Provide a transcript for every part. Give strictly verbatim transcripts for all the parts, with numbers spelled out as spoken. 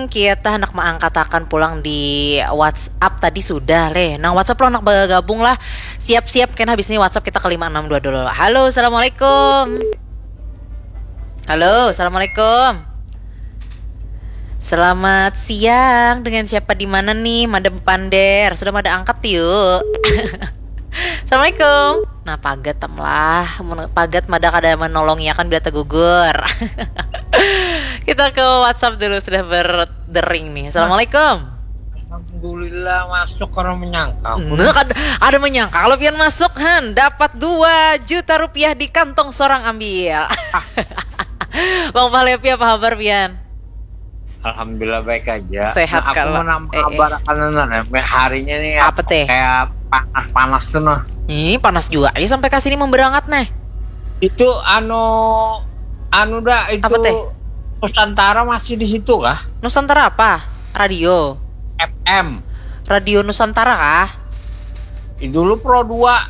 Kita hendak mengangkatakan pulang di WhatsApp tadi sudah leh. Nang WhatsApp lo hendak bergabung lah. Siap-siap kena habis ini WhatsApp kita ke lima enam dua dulu. Halo, assalamualaikum. Halo, assalamualaikum. Selamat siang, dengan siapa di mana nih? Mada bepander, sudah mada angkat yuk. Assalamualaikum. Nah, pagat tam lah. Mun pagat mada kada menolongi akan bila tegugur. Kita ke WhatsApp dulu, sudah berdering nih. Assalamualaikum. Alhamdulillah masuk, karena menyangka aku. Nah, kada, kada menyangka kalau pian masuk, han, dapat dua juta rupiah di kantong seorang ambil. Bang Pahlepi, apa kabar pian? Alhamdulillah baik aja. Sehat Nah, aku kalau- menambah eh, eh. kabar akan, nah, harinya nih Apa teh? Kayak panas-panas tuh, nah. Ih, panas juga ya sampai ke sini memberangat nih. Itu anu anu dah itu Apa teh? Nusantara masih di situ kah? Nusantara apa? Radio. F M. Radio Nusantara kah? Ih, dulu Pro dua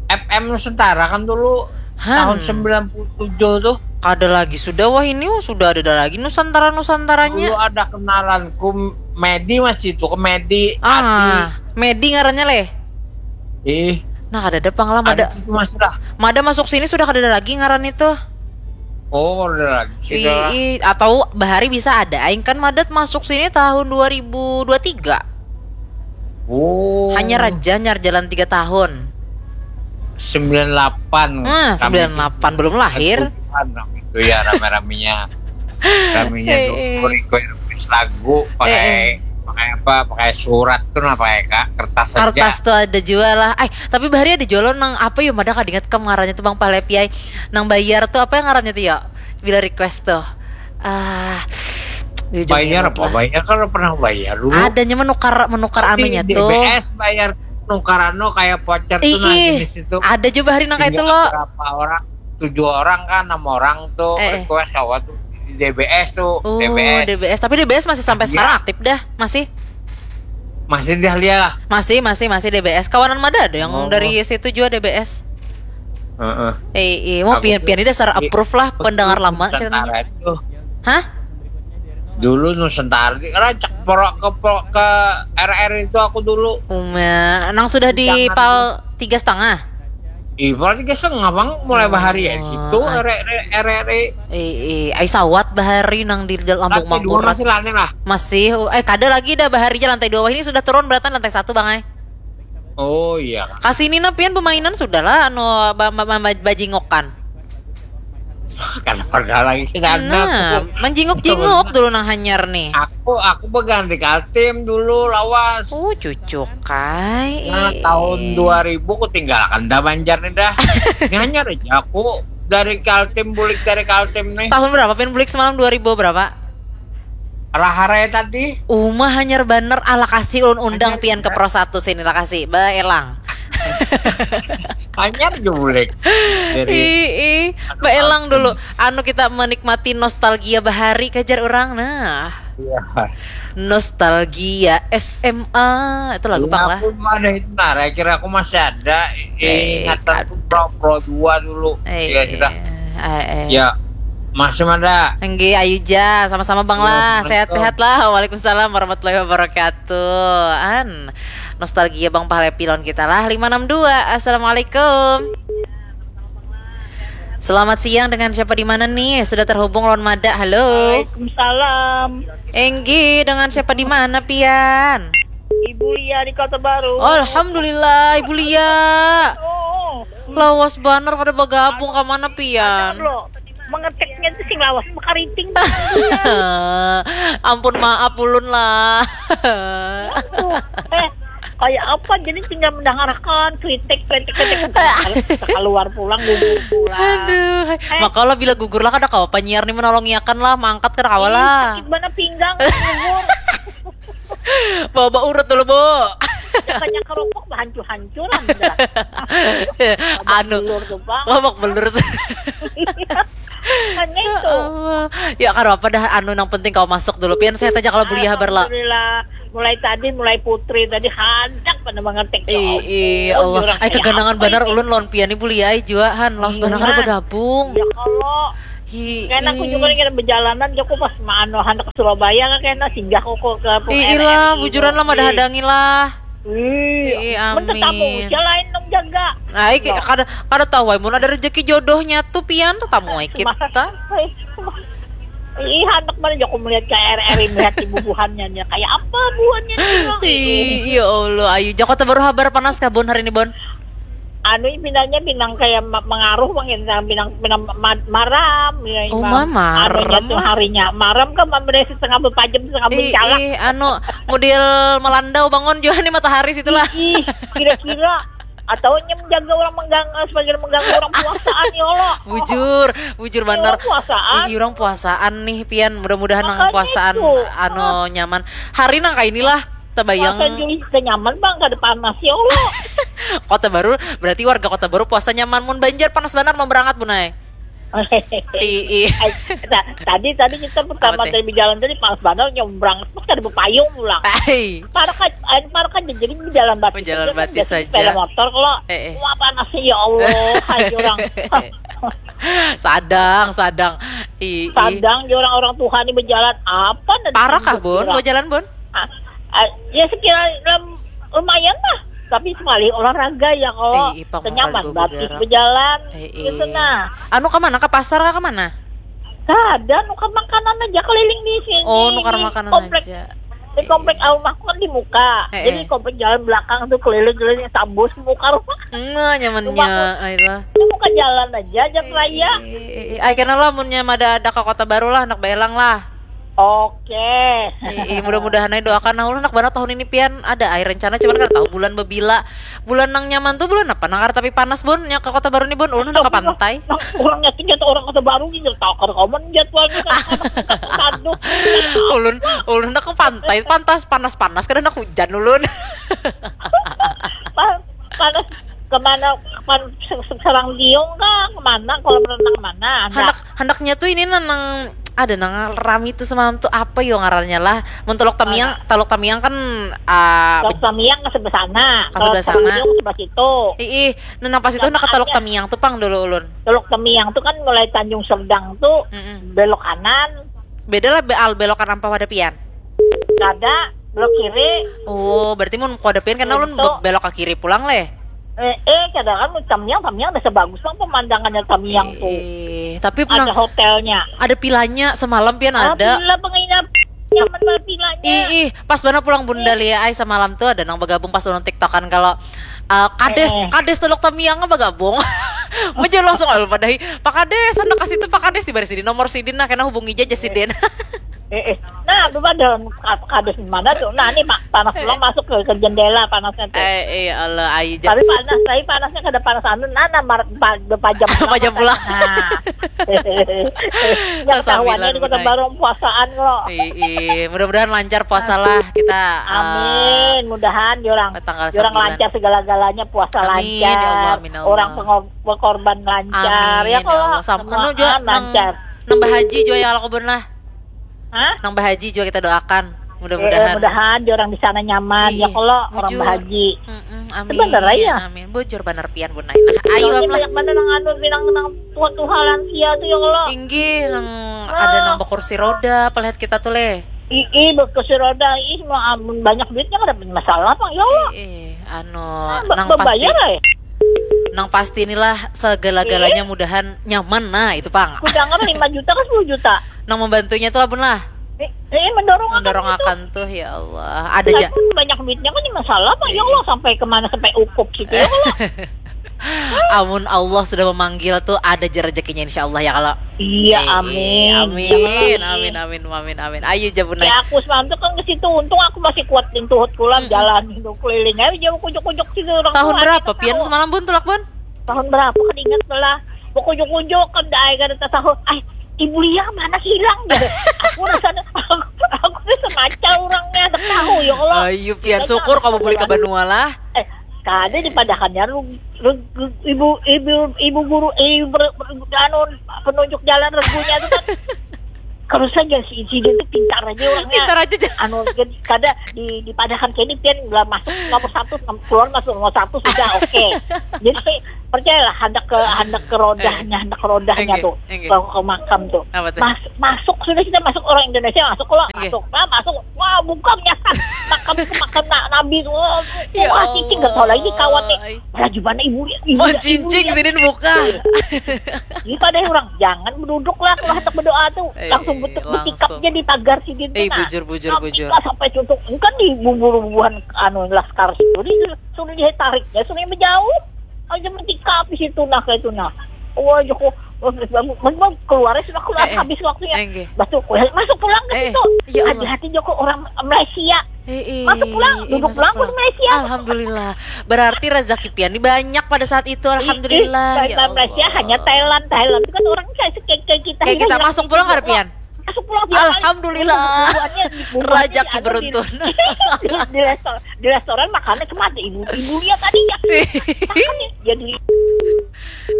F M Nusantara kan dulu Han. tahun sembilan puluh tujuh tuh. Kada lagi sudah, wah ini sudah ada lagi Nusantara-Nusantaranya. Dulu ada kenalanku Medi masih itu, ke Medi, Ati. Ah, Medi ngarannya leh. Ih, Nah, kada ada pang lah, ada mada, situ masih lah. mada masuk sini sudah kada ada lagi ngaran itu. Oh, ada lagi. I, Sudah. I, atau bahari bisa ada aing kan madat masuk sini tahun dua ribu dua tiga. Oh. Hanya raja nyar jalan tiga tahun. Sembilan delapan. Hmm, Kami sembilan delapan belum lahir. Tujuan waktu itu ya, rame-ramenya. Ramenya Eh, dulu eh. Request lagu pakai Eh, eh. pakai apa? Pakai surat tuh, nah, pakai ka- kertas aja. Kertas tuh ada jual lah. Eh, tapi bahari ada jualan nang apa ya, mada kada ingat kam ngarannya tuh, Bang Pahlepi ai. Nang bayar tuh apa yang ngarannya tuh ya? Bila request tuh. Ah, jujur Bayar ingat apa? Lah. Bayar kan pernah bayar dulu. Adanya menukar menukar Di anunya tuh. D B S bayar, nukar anu kayak voucher tuh, nah, Ih, jenis itu. Ada juga bahari nang kayak itu Tinggal lo. Berapa orang? Tujuh orang kan, enam orang tuh Eh, eh. Request awal tuh di D B S tuh. Oh, D B S. D B S. Tapi D B S masih sampai Iya. Sekarang aktif dah, masih. Masih dia lihat lah. Masih, masih, masih D B S. Kawanan mada ada yang Oh. Dari situ juga D B S. Heeh. Eh, iya, mau Aku pian tuh pian ini dasar di- approve lah pendengar lama Nusantara ceritanya. Itu. Hah? Dulu Nusantara di rancak porok ke porok ke R R itu aku dulu. Uma, nang sudah di Jangan. pal tiga setengah. Ih, pal tiga setengah bang, mulai bahari ya Oh, situ ah. R R R R. Eh, eh, ai sawat bahari nang di dalam Lambung Lantai dua Mangkurat. Masih lantai lah. Masih, eh kada lagi dah bahari je lantai dua wah ini sudah turun beratan lantai satu bang ai. Oh iya. Kasini nah pian pemainan sudah lah anu ba- ba- ba- bajingokan. Karena pada lagi ke sana. Nah, Aku, menjinguk-jinguk dulu nang hanyar nih. aku aku pegang di Kaltim dulu lawas. Uh, cucuk kai. Nah, tahun dua ribu aku tinggalkan dah Banjar nih dah. Ini hanya aja aku dari Kaltim, bulik dari Kaltim nih. Tahun berapa pian bulik semalam dua ribu berapa? Rahara ya tadi. Uma hanyar banar, ala kasih ulun undang Hanyar pian ke ya. Pro satu sini lah kasih. Baelang. Hanyar aja bulik. Jadi Ih, ih. Baelang dulu. Anu kita menikmati nostalgia bahari kajar orang. Nah, iya. Nostalgia S M A. Itu lagu Iya, pang lah. Aku mah ada itu nah, kira aku masih ada Eh, ingatan kad- tuh Pro Pro dua dulu. Eh, Iya sudah. eh, eh. Ya. Masih ada. Enggih, ayu ja, sama-sama Bang Iya, lah. betul. Sehat-sehat lah. Waalaikumsalam warahmatullahi wabarakatuh. An, nostalgia Bang Pahlepi lawan kita lah. Lima enam dua. Assalamualaikum. Selamat siang, dengan siapa di mana nih? Sudah terhubung lawan mada. Halo. Waalaikumsalam. Enggih, dengan siapa di mana pian? Ibu Lia di Kota Baru. Alhamdulillah, Ibu Lia. Oh, Lawas banar kada bagabung ka mana pian? lo. Mengetiknya itu sing lawas, makariting. Ampun, maaf ulun lah. Tuh, eh, kayak apa? Jadi tinggal mendengarkan kritik, kritik, kritik. Kita keluar pulang, gugur pulang. Aduh, maka lah bila gugur lah kada kawa penyiar nih menolongiakan lah, mangkat kada kawa lah. Sakit mana pinggang, gugur. Bawa, bawa urut dulu, Bu. Banyak kerupuk, hancur-hancuran. Dah. Anu, Belur tuh, Bang. babak belur. Kan itu. Ya, kada apa dah, anu, nang penting kawa masuk dulu. Pian sehat aja kalau Bu Lia habar lah. Alhamdulillah. Mulai tadi, mulai Putri tadi handak pada mengetik. Ih, ih, Allah. Ai, keganangan banar ulun lawan pian nih, Bu Lia ai jua, han. Lawas banar kada bagabung. Ya kalau Kena aku juga kena bejalanan, aku pas maanu handak ke Surabaya kan kena singgah aku ke Ih, ilah, bujuran lah, mada hadangi lah. Ih, mun tetamu usia lain dong jaga. Nah, iki kada kada tahu ai mun ada rezeki jodohnya tuh pian tetamu ai kita. Ih, handak mana aku melihat ke R R I melihat di bubuhannya kayak apa buhannya. Ih, ya Allah, ayu jako baru habar panas kabun hari ini, Bon. Anu pinanya pinang kayak mengaruh mungkin pinang pinang maram ya oh, imam. Anu maram. Harinya maram kan memberi setengah berpajam setengah bercalak. Ih, anu model melandau bangun juga nih matahari situlah. Ih, kira-kira atau nyem jaga orang mengganggu sebagai mengganggu orang puasaan ya Allah. Bujur, bujur bener. Puasaan. Ih, orang puasaan nih pian mudah-mudahan nang puasaan itu. Anu oh. Nyaman. Hari nang kayak inilah. Tabayang. Puasa Juli kenyaman bang kada panas ya Allah. Kota Baru berarti warga Kota Baru puasa nyaman mun Banjar panas banar mau berangat bunai. Ii. Tadi tadi kita pertama tadi berjalan tadi panas banar nyebrang terus kada berpayung pulang. Parah kan parah kan jadi berjalan batis. Berjalan batis saja. Sepeda motor kalau wah panas ya Allah hai orang. Sadang sadang. Ii. Sadang orang orang Tuhan ini berjalan apa? Parah kah bun? Mau jalan bun? Ah, ah, ya sekira lumayan lah tapi sekali olahraga ya kalau eh, kenyaman batis berjalan eh, eh. Gitu nah. Anu ke mana ke pasar ke mana? Kada nukar makanan aja keliling di sini. Oh nukar makanan komplek, aja. Di komplek eh, rumahku kan di muka. Eh, jadi komplek jalan belakang tuh keliling-keliling sambus muka rumah. Enggak nyamannya. Ayolah. Muka jalan aja jam raya. Eh, eh, eh. Ay, kenal lah munnya ada ada ke kota baru lah anak belang lah. Oke. Ih, mudah-mudahan aja doakan nah ulun nak banget tahun ini pian ada air rencana cuman kada tahu bulan bebila. Bulan nang nyaman tuh bulan apa nang tapi panas bun yang ke kota baru nih bun ulun nak ke pantai. Nah, orang nyakin jatuh orang kota baru gitu tahu kada komen jadwalnya kan aduh. Ulun ulun nak ke pantai pantas panas-panas kada nak hujan ulun. Panas kemana pan serang diung kah kemana kolam renang mana anak handaknya tuh ini nang ada nang rami tuh semalam tuh apa yo ngarannya lah mun telok tamiang telok tamiang kan uh, telok tamiang ke sebelah sana ke sebelah sana sebelah situ ih nah pas itu nak telok tamiang tuh pang dulu ulun telok tamiang tuh kan mulai Tanjung Serdang tuh mm -mm. Belok kanan beda lah al belok kanan apa pada pian kada belok kiri oh berarti mun kada pian karena ulun belok ke kiri pulang leh Eh, eh, kadang kan tamiang, tamiang ada sebagus bang pemandangannya tamiang tuh. Eh, tapi ada hotelnya. Ada pilanya semalam pian ah, ada. Pila penginapan nyaman banget pilanya. Ih, ih, pas banget pulang bunda eh. Lia ai semalam tuh ada nang bergabung pas ulun tiktokan kalau uh, kades eh, eh. Kades teluk tamiang bergabung. Meja langsung alun padahi. Pak kades, anda kasih tuh Pak kades di baris ini nomor sidin nah kena hubungi aja sidin. Eh, eh. Nah, lu pada kadus di mana tuh? Nah, ini mak panas pulang masuk ke, ke jendela panasnya tuh. Eh, eh Allah, ayu jas. Tapi panas, tapi panasnya kada panas anu, nah, nah mar, pa, pajam pulang. Pajam pulang. Nah. Ya ketahuannya di kota baru puasaan lo. Iya, mudah-mudahan lancar puasa lah kita. Eh, amin, uh, mudahan orang orang lancar segala-galanya puasa amin, lancar. Ya Allah, amin, ya Allah. Orang pengor, korban lancar amin, ya kalau ya Allah. Sama, anu juga lancar. Nang bahaji jua ya Allah kubun lah. Hah? Nang bahaji jua kita doakan. Mudah-mudahan. Eh, mudahan di orang di sana nyaman. Iya, ya kalau orang bahaji. Mm-mm, amin. Bener ya. Amin. Bujur bener pian bun nah. Ayo lah. Banyak mana nang anu bilang nang tua tuha lansia tuh ya Allah. Inggih nang ah. Ada nang berkursi roda, pelihat kita tuh leh. Ih, berkursi roda, ih mau amun banyak duitnya kada punya masalah apa ya Allah. Ih, ih, anu, ah, nang pasti. Bayar, eh? Nang pasti inilah segala-galanya eh? Mudahan nyaman nah itu pang. Kudangan lima juta kan sepuluh juta. Nang membantunya tuh labun lah. Eh, eh mendorong mendorong akan tuh ya Allah. Ada aja. Banyak duitnya kan masalah apa ya Allah sampai kemana sampai ukup situ ya Allah. Amun Allah sudah memanggil tuh ada aja rezekinya insya Allah ya kalau. Iya, eh, amin. Amin, amin, amin, amin, amin. Ayo jabun ya, aku semalam tuh kan ke situ, untung aku masih kuat pintu hot kulan hmm. Jalan itu keliling aja jauh kujuk-kujuk situ orang. Tahun berapa pian semalam bun tulak bun? Tahun berapa kan ingat lah. Kujuk-kujuk kan dah kan tahu. Ay, Ibu Lia mana hilang gitu. Aku rasanya aku, aku tuh semacam orangnya tak tahu ya Allah. Ayo pian syukur kamu boleh ke Banua lah. Eh, kada dipadakannya lu, lu, ibu ibu ibu guru eh ber, ber, anu penunjuk jalan regunya itu kan terus saja si insiden itu pintar aja orangnya pintar aja anu kada di dipadakan kayak ini pian lah masuk nomor satu keluar masuk nomor satu sudah oke okay. Jadi Percayalah, hendak ke hendak ke rodahnya, hendak ke rodahnya Enggak, tuh, enggak. Ke, ke makam tuh. Apa tuh? Mas, masuk sudah, kita masuk, orang Indonesia masuk, kalau Enggak. Masuk lah, masuk. Wah, buka menyasar. Makam itu makam na- Nabi tuh. Wah, Ya wah, cicing nggak tahu lagi Allah. Kawan nih. Wah, gimana ibu ya? Ibu Mau ya, cincin ibu ya. Sidin buka. Jadi pada orang jangan duduk lah kalau hendak berdoa tuh, Eh, langsung betul langsung. Betikapnya di pagar Sidin tuh. Eh, Nah, bujur, bujur, nah, bujur. Kita sampai tutup, kan di bubur-bubuhan anu laskar Sidin, sudah ditariknya, sudah menjauh. Aja metikap di situ nah, kayak itu nah. Wah, Joko, memang keluarnya sudah keluar, Eh, eh. Habis waktunya. Eh, nggih. Batu, masuk pulang ke Eh, eh. Situ. Ya Allah. Hati-hati, Joko, orang Malaysia. Eh, eh, Masuk pulang, eh, duduk masuk pulang pulang. Di Malaysia. Alhamdulillah. Berarti rezeki pian ini banyak pada saat itu. Alhamdulillah. Ih, Ya Thailand, Malaysia, Allah. Hanya Thailand, Thailand itu kan orang kayak kayak, kayak kita. Kayak kita Hijrah masuk gitu. Pulang kada pian? Masuk pulang tiap hari. Alhamdulillah. Bubuhannya, bubuhannya Rezeki anu, beruntun. Di, di, resto, di restoran makannya cemati, ibu ibu lihat tadi ya. Makan nih, jadi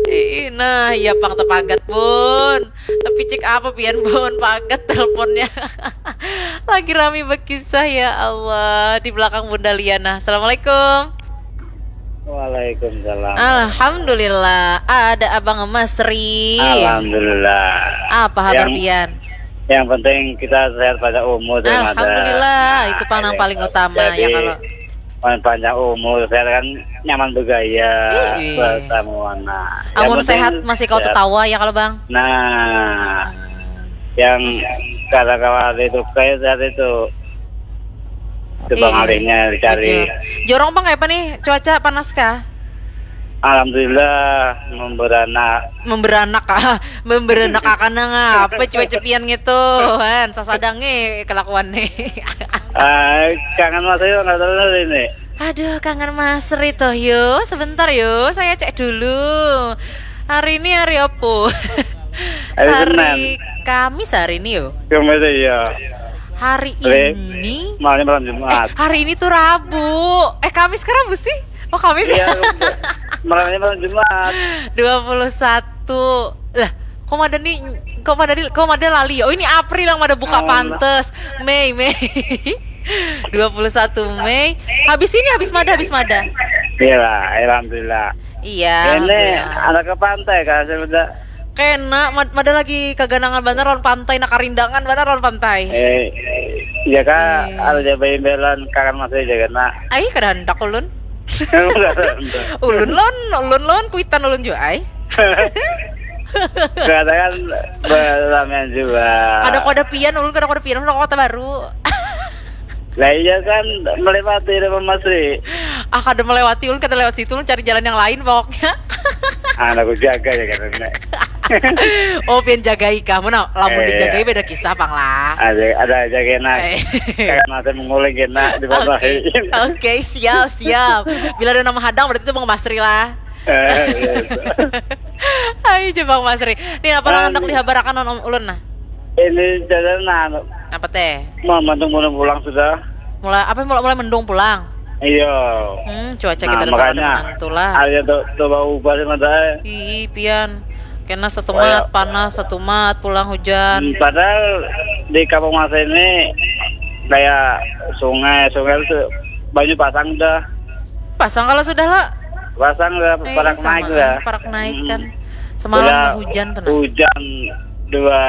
Ih, nah, iya pang tepagat bun. Tapi cek apa pian bun pagat teleponnya. Lagi rami berkisah ya Allah di belakang Bunda Liana. Assalamualaikum. Waalaikumsalam. Alhamdulillah ada Abang Masri. Alhamdulillah. Apa kabar Yang- pian? Yang penting kita sehat pada umur dan ada- Alhamdulillah, itu pang nang Nah, paling utama jadi, ya kalau pan- panjang umur, sehat kan nyaman bergaya, Ih. Bertemu anak. Yang Amun penting sehat masih kau sehat. Tetawa ya kalau Bang. Nah, yang kada kawa itu kayak sehat itu. Itu bang Iya. alihnya dicari. Bujur. Jorong Bang kayak apa nih cuaca panas kah? Alhamdulillah memberanak. Memberanak ah, memberanak akan ngapa cuaca pian gitu kan sasadangnya kelakuan nih. Ah, kangen Mas Ayu nggak tahu ini. Aduh kangen Mas Rito yo sebentar yo saya cek dulu. Hari ini hari apa? Hari Hari Senin. Kamis hari ini yo. Cuma itu ya. Hari Hari- ini Malamnya malam Jumat. hari ini tuh Rabu. Eh Kamis ke Rabu sih? Oh Kamis Iya, ya. malamnya malam Jumat. Dua puluh satu. Lah, kok ada nih kok ada nih kok ada lali. Oh ini April yang ada buka Oh, pantes. Mei, Mei. Dua puluh satu Mei. Habis ini habis mada habis mada. Iya lah, alhamdulillah. Iya. Ini Alhamdulillah. Anak ke pantai kan sebenarnya. Kena mad- mada lagi kaganangan banar lawan pantai, nak karindangan banar lawan pantai. Eh, ya kak, Eh. Ada jabai imbelan kangen masih aja kena. Ai kada handak ulun. Ulun lawan ulun lawan kuitan ulun jua ai. Kadang kan berlamian juga. Kada kada pian ulun kada kada pian ulun ke Kota Baru. Lah iya kan melewati rumah Masri. Ah kada melewati ulun kada lewat situ ulun cari jalan yang lain pokoknya. Anak aku jaga ya kan nek. Oh pian jagai kah? Mana lamun Eh, dijagai iya. Beda kisah pang lah. Ada ada aja kena. Eh. Kayak mata menguling kena di bawah. Oke, oke siap siap. Bila ada nama hadang berarti itu Bang Masri lah. Eh, iya, itu. Ayo coba Bang Masri. Nih apa nang Ah, hendak nih. Dihabarakan non ulun nah? Ini jalan nah, Apa teh? mau mendung pulang sudah. Mulai apa mulai mulai mendung pulang? Iya. Hmm, cuaca Nah, kita ada makanya menentu lah. Ada tuh coba ubah sih mata. Ih, pian. Kena satu mat panas, satu mat pulang hujan. Hmm, Padahal di kampung masa ini kayak sungai, sungai itu banyu pasang dah. Pasang kalau sudah lah. Pasang dah, Eh, parak sama, naik dah. Parak naik Hmm. Kan. Semalam Udah hujan tuh nah. Hujan dua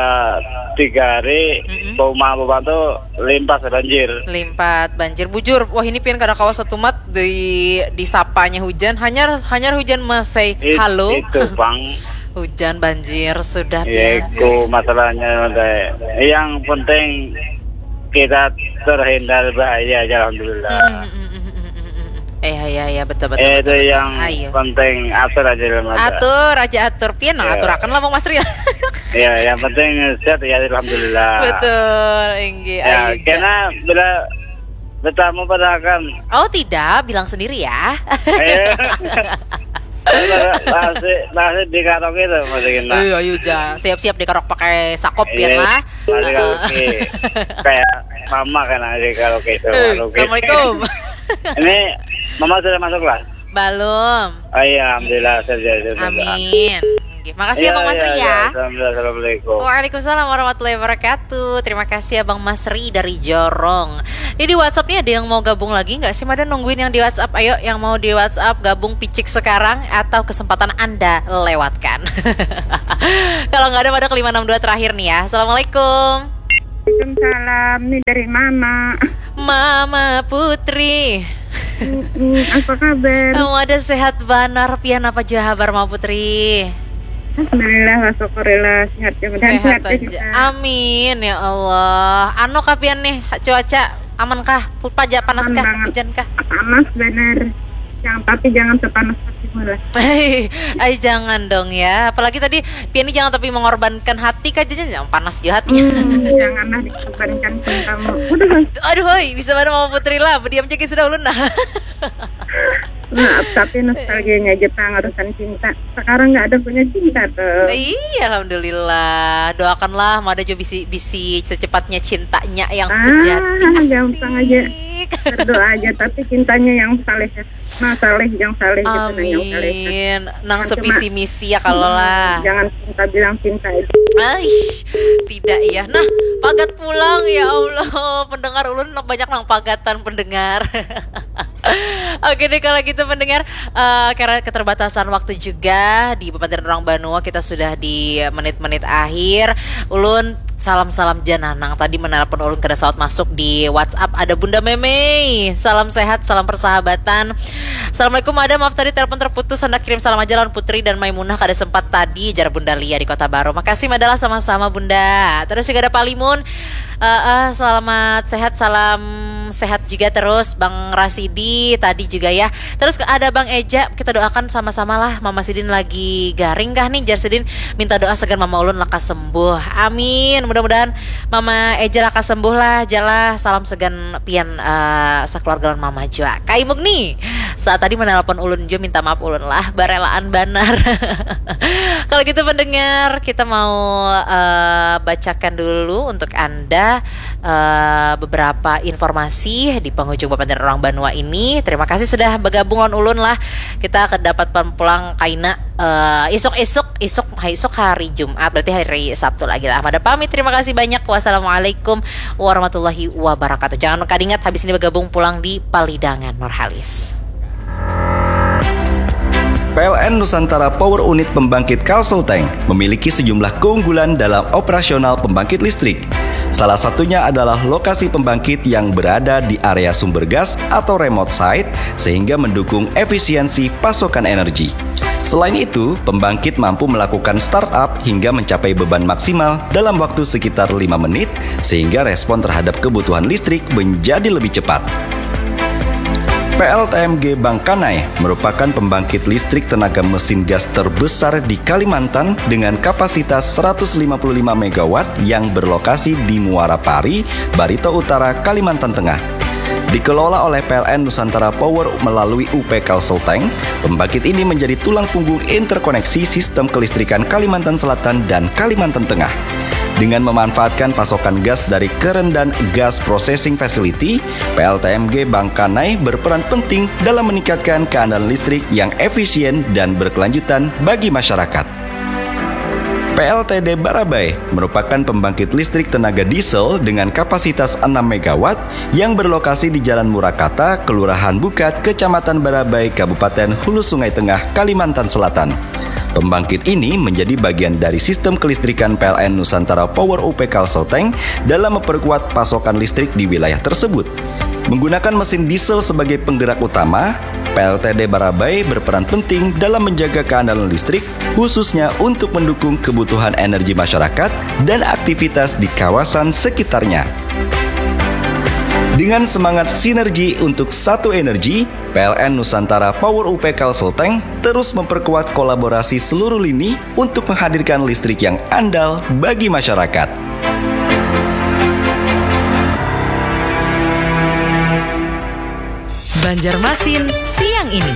tiga hari, Mm-mm. bau mah bau tuh limpas banjir. Limpat banjir bujur. Wah ini pian kada kawa satu mat di disapanya hujan. Hanyar hanyar hujan masai It- halo. Itu bang. Hujan banjir sudah Ya pian. itu masalahnya teh. Yang penting kita terhindar bahaya aja alhamdulillah. Mm, mm, mm, mm, mm, mm, mm. Eh ya ya betul betul. Eh, betul, itu betul. yang Ayo. Penting atur aja dalam mata. Atur aja atur pian nah Iya. Aturakan lah Bang Masri. Ya, yang penting sehat ya alhamdulillah. Betul, inggih. Ya, Ayo, karena bila bertamu pada akan Oh tidak, bilang sendiri ya. eh, masih masih di karaoke tuh masih kena. Eh, ayo ja, siap-siap dikarok pakai sakop Iya, pian lah. masih Heeh. karaoke. Kayak mama kan ada di karaoke itu. Eh, Karaoke. Assalamualaikum. Ini mama sudah masuk lah. Belum. Oh iya, alhamdulillah saya sudah. Amin. Inggih. Makasih ya Iya, Bang Masri iya, ya. Iya, alhamdulillah, assalamualaikum. Waalaikumsalam warahmatullahi wabarakatuh. Terima kasih ya Bang Masri dari Jorong. Ini di WhatsApp nih ada yang mau gabung lagi nggak sih? Mada nungguin yang di WhatsApp. Ayo, yang mau di WhatsApp gabung picik sekarang atau kesempatan Anda lewatkan. Kalau nggak ada, pada ke lima enam dua terakhir nih ya. Assalamualaikum. Waalaikumsalam, ini dari Mama. Mama Putri. Mm-mm, apa kabar? Kamu ada sehat banar, pian apa jua habar, Mama Putri? Alhamdulillah, wa syukurillah, sehat ya. Mudahan Sehat sehat ya aja. kita. Amin ya Allah. Anu kapian nih, cuaca aman kah? Paja panas Aman kah? banget. Hujan kah? Panas bener. Jangan, tapi jangan sepanas hatimu lah. Ay, jangan dong ya. Apalagi tadi pian ini jangan tapi mengorbankan hati kah, jangan panas jua hatinya. Hmm, janganlah dikorbankan cintamu. Udah, Aduh, hoi, bisa mana, Mama Putri lah, berdiam aja sudah ulun nah. Maaf, tapi nostalgianya aja, Tang, urusan cinta. Sekarang nggak ada punya cinta tuh. Iya, alhamdulillah. Doakanlah Mada Jo bisi bisi secepatnya cintanya yang Ah, sejati. Asik. Gampang aja. Berdoa aja, tapi cintanya yang saleh ya. Nah, saleh, yang saleh gitu, nah, yang saleh. Amin. Nang Cuma- sevisi misi ya kalau lah. Jangan cinta bilang cinta aja. Aish, tidak ya. Nah, pagat pulang ya Allah. Pendengar ulun banyak nang pagatan pendengar. Oke deh, kalau gitu pendengar, eh, karena keterbatasan waktu juga di Bebatian Orang Banua, kita sudah di menit-menit akhir. Ulun salam-salam ja nah, nang tadi menelpon ulun kada sawat masuk di WhatsApp, ada Bunda Memei. Salam sehat, salam persahabatan. Assalamualaikum Mada, maaf tadi telepon terputus, hendak kirim salam aja lawan Putri dan Maimunah, kada sempat tadi, jar Bunda Lia di Kota Baru. Makasih Mada lah, sama-sama Bunda. Terus juga ada Pak Limun. Eh, eh, selamat sehat, salam sehat juga terus Bang Rasidi tadi juga ya. Terus ke- ada Bang Eja, kita doakan sama-sama lah, Mama Sidin lagi garing kah nih, jar Sidin minta doa sagan Mama ulun lekas sembuh. Amin. Mudah-mudahan Mama Eja lekas sembuh lah, jalah salam sagan pian, eh, sekeluarga lawan Mama jua. Kaimuk nih. Saat tadi menelpon ulun jua, minta maaf ulun lah, barelaan banar. Kalau gitu pendengar, kita mau, eh, bacakan dulu untuk Anda, eh, beberapa informasi di penghujung Bebatian Orang Banua ini. Terima kasih sudah bergabung lawan ulun lah. Kita akan dapat pulang kaina, eh, isuk-isuk, isuk, isuk hari Jumat, berarti hari Sabtu lagi lah. Mada pamit, terima kasih banyak. Wassalamualaikum warahmatullahi wabarakatuh. Jangan kadingat habis ini bergabung pulang di Palidangan Nurhalis. P L N Nusantara Power Unit Pembangkit Kalsel Tank memiliki sejumlah keunggulan dalam operasional pembangkit listrik. Salah satunya adalah lokasi pembangkit yang berada di area sumber gas atau remote site, sehingga mendukung efisiensi pasokan energi. Selain itu, pembangkit mampu melakukan startup hingga mencapai beban maksimal dalam waktu sekitar lima menit, sehingga respon terhadap kebutuhan listrik menjadi lebih cepat. P L T M G Bangkanai merupakan pembangkit listrik tenaga mesin gas terbesar di Kalimantan dengan kapasitas seratus lima puluh lima megawatt yang berlokasi di Muara Pari, Barito Utara, Kalimantan Tengah. Dikelola oleh P L N Nusantara Power melalui U P Kalsel Tank, pembangkit ini menjadi tulang punggung interkoneksi sistem kelistrikan Kalimantan Selatan dan Kalimantan Tengah. Dengan memanfaatkan pasokan gas dari Kerendan Gas Processing Facility, P L T M G Bangkanai berperan penting dalam meningkatkan keandalan listrik yang efisien dan berkelanjutan bagi masyarakat. P L T D Barabai merupakan pembangkit listrik tenaga diesel dengan kapasitas enam megawatt yang berlokasi di Jalan Murakata, Kelurahan Bukat, Kecamatan Barabai, Kabupaten Hulu Sungai Tengah, Kalimantan Selatan. Pembangkit ini menjadi bagian dari sistem kelistrikan P L N Nusantara Power U P Kalsel Tank dalam memperkuat pasokan listrik di wilayah tersebut. Menggunakan mesin diesel sebagai penggerak utama, P L T D Barabai berperan penting dalam menjaga keandalan listrik, khususnya untuk mendukung kebutuhan energi masyarakat dan aktivitas di kawasan sekitarnya. Dengan semangat sinergi untuk satu energi, P L N Nusantara Power U P Kalsel Tank terus memperkuat kolaborasi seluruh lini untuk menghadirkan listrik yang andal bagi masyarakat. Banjarmasin siang ini.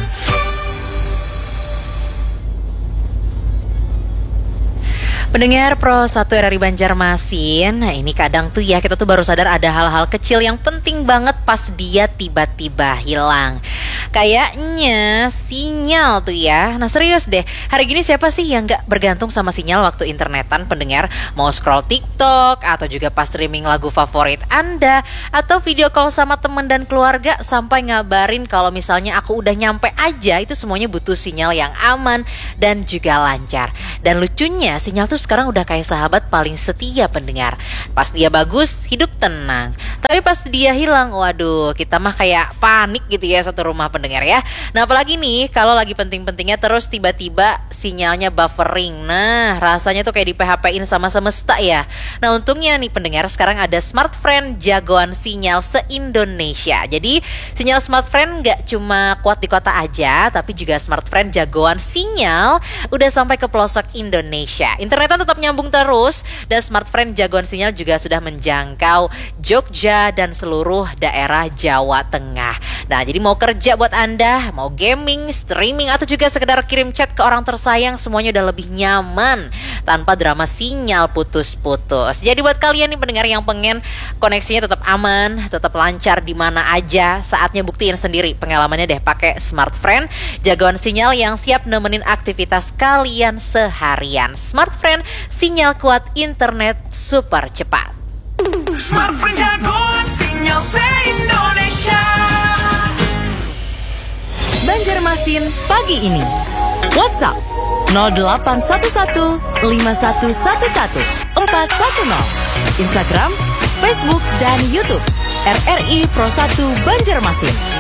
Pendengar Pro satu R R I Banjarmasin, nah ini kadang tuh ya kita tuh baru sadar ada hal-hal kecil yang penting banget pas dia tiba-tiba hilang. Kayaknya sinyal tuh ya. Nah, serius deh. Hari gini siapa sih yang gak bergantung sama sinyal waktu internetan, pendengar? Mau scroll TikTok atau juga pas streaming lagu favorit Anda atau video call sama temen dan keluarga sampai ngabarin kalau misalnya aku udah nyampe aja, itu semuanya butuh sinyal yang aman dan juga lancar. Dan lucunya, sinyal tuh sekarang udah kayak sahabat paling setia, pendengar. Pas dia bagus, hidup tenang. Tapi pas dia hilang, waduh, kita mah kayak panik gitu ya satu rumah, pendengar ya. Nah, apalagi nih kalau lagi penting-pentingnya terus tiba-tiba sinyalnya buffering. Nah, rasanya tuh kayak di-P H P-in sama semesta ya. Nah, untungnya nih, pendengar, sekarang ada Smartfren, jagoan sinyal se-Indonesia. Jadi, sinyal Smartfren nggak cuma kuat di kota aja, tapi juga Smartfren jagoan sinyal udah sampai ke pelosok Indonesia. Internetan tetap nyambung terus, dan Smartfren jagoan sinyal juga sudah menjangkau Jogja dan seluruh daerah Jawa Tengah. Nah, jadi mau kerja buat Anda, mau gaming, streaming, atau juga sekedar kirim chat ke orang tersayang, semuanya udah lebih nyaman tanpa drama sinyal putus-putus. Jadi buat kalian nih, pendengar, yang pengen koneksinya tetap aman, tetap lancar di mana aja, saatnya buktiin sendiri pengalamannya deh pakai Smartfren, jagoan sinyal yang siap nemenin aktivitas kalian seharian. Smartfren, sinyal kuat, internet super cepat. Smartfren jagoan sinyal se-Indonesia. Banjarmasin pagi ini. WhatsApp nol delapan satu satu lima satu satu satu empat satu nol. Instagram, Facebook, dan YouTube R R I Pro satu Banjarmasin.